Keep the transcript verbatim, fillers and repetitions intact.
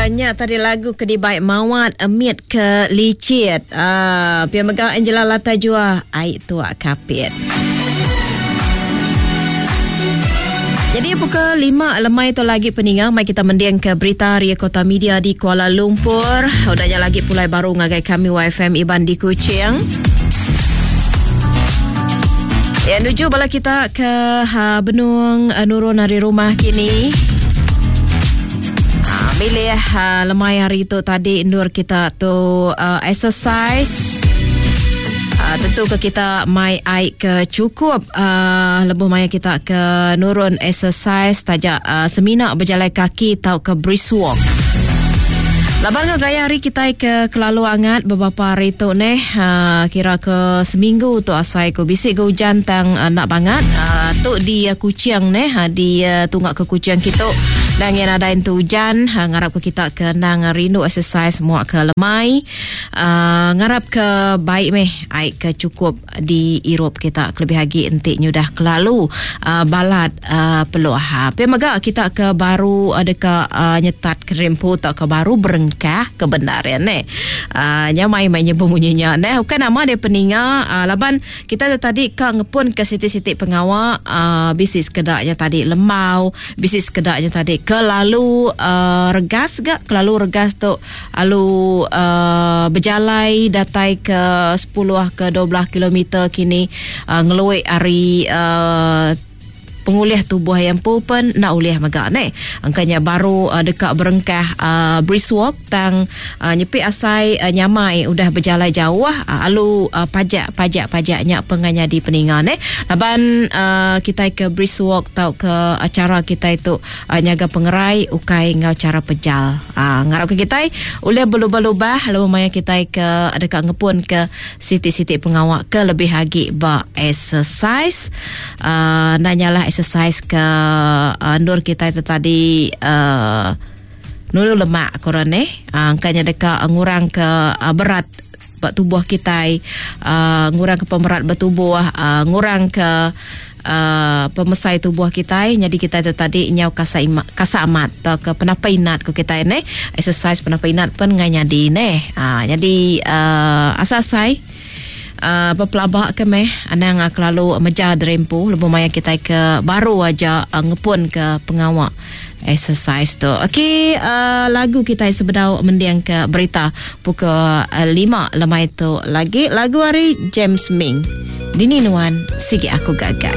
Nya tadi lagu ke dibai Mawat Emit ke Licit. Uh, pia mega Angela Lata Jua ai tua kapit. Jadi pukul lima lemai tu lagi peninga mai kita mending ke berita Ria Kota Media di Kuala Lumpur. Udahnya lagi pulai baru ngagai kami Y F M Iban di Kuching. Ya, nuju bala kita ke ha, Benung uh, Nurun hari rumah kini. Ha, milih ha, lemai hari tu tadi nur kita tu uh, exercise. Uh, tentu ke kita mai air ke cukup uh, lebuh maya kita ke nurun exercise tajak uh, semina berjalan kaki tau ke brisk walk. Laban ke gaya hari kita ke kelalu angat beberapa hari tu neh uh, kira ke seminggu tu asai ku bisik ke hujan tang uh, nak bangat uh, tu di uh, Kuching neh uh, di uh, tunggak ke Kuching kita dan yang ada itu hujan uh, ngarap ke kita ke nang rindu exercise muak ke lemai uh, ngarap ke baik meh air ke cukup di Europe kita kelebih lagi entik nyudah kelalu uh, balat uh, peluh. Ha pe mega kita ke baru ada ke uh, nyetat kerempu tak ke baru berengkah kebenaran ne. Uh, nyamai mai nyebut bunyinya ne. Bukan nama dia peninga uh, laban kita tadi ke ngepun ke siti-siti pengawa uh, bisi sekedaknya tadi lemau, bisi sekedaknya tadi kelalu uh, regas gak kelalu regas tu alu uh, berjalai datai ke sepuluh ke dua belas kilometer kini uh, ngeluik hari uh, pengulih tubuh yang pun nak ulih megak ne. Angkanya baru uh, dekat berengkah uh, brisk walk tang uh, nyepi asai uh, nyamai udah berjalan jauh uh, alu uh, pajak pajak pajaknya penganya di peninga ne. Laban uh, kita ke brisk walk tau ke acara kita itu uh, nyaga pengerai ukai ngau cara pejal. Uh, ngarap ke kita ulih berlubah-lubah lalu maya kita ke dekat ngepun ke siti-siti pengawak ke lebih lagi ba exercise uh, nanyalah exercise ke uh, nur kita itu tadi uh, nulu lemak korang ni uh, angkanya dekat ngurang ke uh, berat tubuh kita uh, ngurang ke pemerat bertubuh uh, ngurang ke Uh, pemesai tubuh kita jadi kita itu tadi nyau kasa ima, kasa amat atau ke penapa inat ke kita ni exercise penapa inat pun ngai nyadi ne uh, jadi uh, asal-asai Uh, berpelabak ke meh anang uh, kelalu meja derempu lebuh maya kita ke baru aja uh, ngepun ke pengawak exercise tu. Okey, uh, lagu kita sebedau mendiang ke berita pukul uh, lima lemai tu lagi lagu hari James Ming. Dini nuan sigi aku gagai.